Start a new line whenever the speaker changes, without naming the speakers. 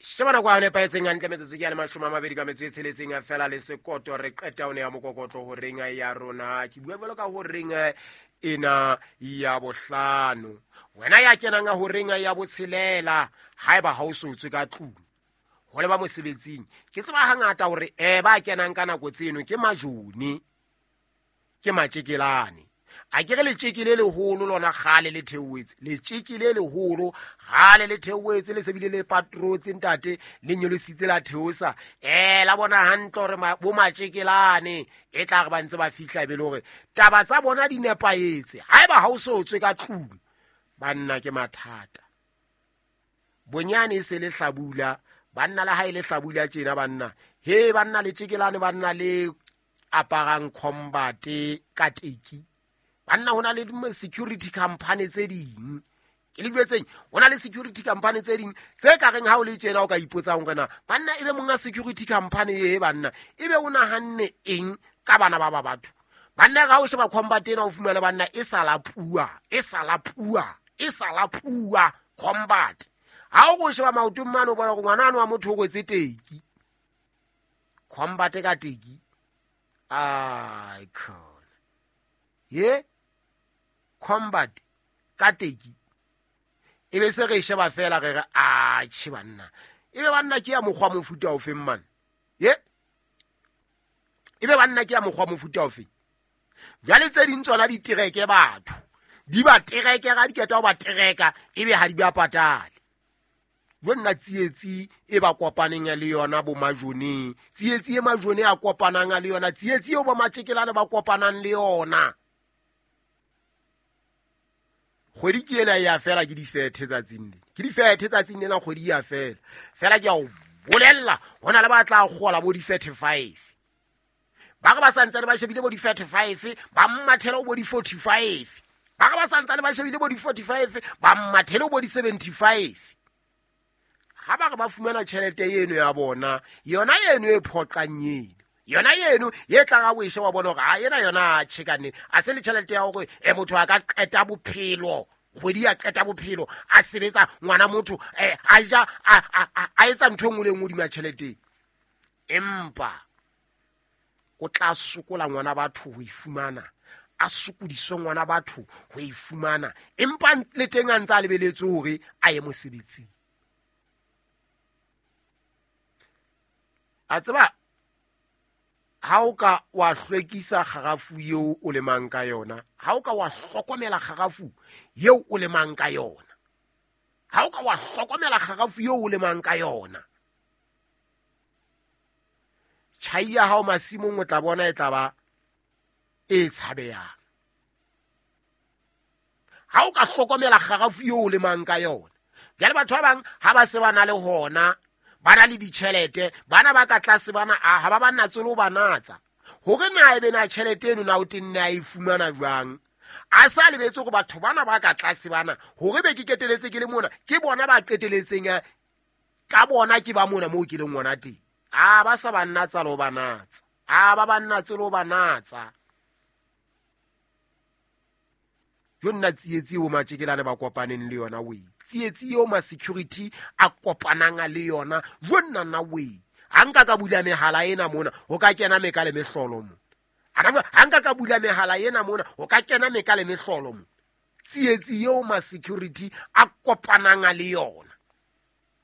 Sheba nako ya nepahetseng hantle, metsotso ke ya le 22 ka metso e tsheletseng fela le sekoto. Re qeta o ne ya mokokotlo horeng ya rona. Ke bua jwalo ka horeng ena ya bohlano, wena ya kenang horeng ya botshelela, haeba ha o so tswe ka tlung ho leba mosebetsing. Ke tseba hangata hore ba kenang ka nako tseno ke majone, ke matjekelane. A ke re letjeke le leholo lona kgale le theohetse, letjeke le leholo kgale le theohetse, le sebile le patrotse ntate, le nyolositse la theosa. La bona hantle hore bo matjekelane e tla re ba ntse ba fihla, e be le hore taba tsa bona di nepahetse. Haeba ha o so tswe ka tlung, banna ke mathata. Bonyane e se le hlabula, banna le ha e le hlabula tjena banna. He banna letjekelane, banna le aparang combat ka teki. Banna ho na le security company tse ding. Ke le jwetseng, ho na le security company tse ding tse ka reng ha o le tjena o ka ipotsang hore na banna ebe monga security company e banna ebe o nahanne eng ka bana ba ba batho. Banna ga o sheba combat ena o fumana banna e sa la pua, e sa la pua, e sa la pua combat. Ha o go sheba maotong mane o bona gore ngwana ano wa motho o kwetse teki. Combat ka teki. Ai khona. Ye combat ka teki. E be se re sheba fela re re a che banna. E be banna ke ya mokgwa mofuta o feng man? Ye e be banna ke ya mokgwa mofuta o feng? Jwale tse ding tsona di tereke batho. Di ba tereke ga di keta ho ba tereka, e be ha di ba patale. Jo nna tsietsi e ba kopaneng le yona bo majoneng, tsietsi e majone a kopanang le yona, tsietsi eo bo matjekelane ba kopanang le yona. Kgwedi ke ena ya fela, ke difethe tsatsing le. Ke difethe tsatsing lena, kgwedi ya fela. Fela ke a o bolella, ho na le ba tla kgola bo di-35. Ba re ba santsane ba shebile bo di-35, ba mmathela ho bo di-45. Ba re ba santsane ba shebile bo di-45, ba mmathele ho bo di-75. Ha ba re ba fumana tjhelete eno ya bona, yona eno e phoqang eno, yona eno e tlang ha o e sheba bona hore ha ena yona tjhe ka nnete, a se le tjhelete ya hore motho a ka qeta bophelo, kgwedi ya qeta bophelo a sebetsa ngwana motho, a ja, a etsa ntho e nngwe le nngwe hodima tjhelete. Empa o tla sokola ngwana batho ho e fumana, a sokodiswe ngwana batho ho e fumana, empa le teng a ntse a lebeletse hore a ye mosebetsing. A tseba ha o ka wa hlwekisa kgarafu eo o lemang ka yona, ha o ka wa hlokomela kgarafu eo o lemang ka yona, ha o ka wa hlokomela kgarafu eo o lemang ka yona, tjhai ya hao masimong o tla bona e tla ba e tshabehang. Ha o ka hlokomela kgarafu eo o lemang ka yona. Jwale batho ba bang ha ba se ba na le hona, ba na le ditjhelete, bana ba ka tlase bana ha ba ba natse le ho ba natsa. Hore na ebe na tjhelete eno na o tenne a e fumana jwang? A sa lebetse hore batho bana ba ka tlase bana, hore be ke keteletse ke le mona, ke bona ba qeteletseng ka bona ke ba mona moo ke leng hona teng. A ba sa ba natsa le ho ba natsa. A ba ba natse le ho ba natsa. Jo nna tsietsi eo matjekelane ba kopaneng le yona we. Tsietsi eo ma security a kopanang le yona, jo nna nna we. Ha nka ka bula mehala ena mona, ho ka kena meka le mehlolo mo. Ha nka ka bula mehala ena mona, ho ka kena meka le mehlolo mo. Tsietsi eo ma security a kopanang le yona.